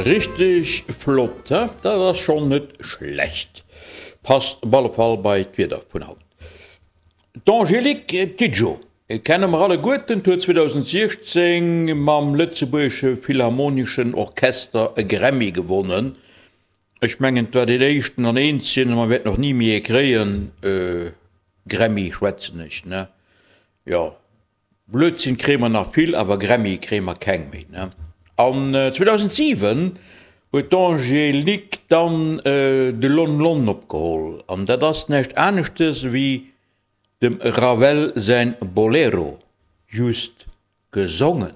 Richteg flott, he? Dat ass schonn net schlecht. Passt op alle Fall bei d'Wieder vun haut. D'Angélique Kidjo kenne mer alleguerten, huet 2016 mam Lëtzebuergesche Philharmoneschen Orchester e Grammy gewonnen. Ech mengen, et war deen éischten an eenzegen, a mer wäerten och ni méi ee kréien, Grammy schwätzen ech, ne? Jo. Blödsinn kréie mer nach vill, awer Grammy kréie mer keng méi, ne? An 2007 huet d'Angélique dann de Lon Lon opgeholl, an dat ass näischt aneschtes ewéi dem Ravel säin Bolero, just gesongen.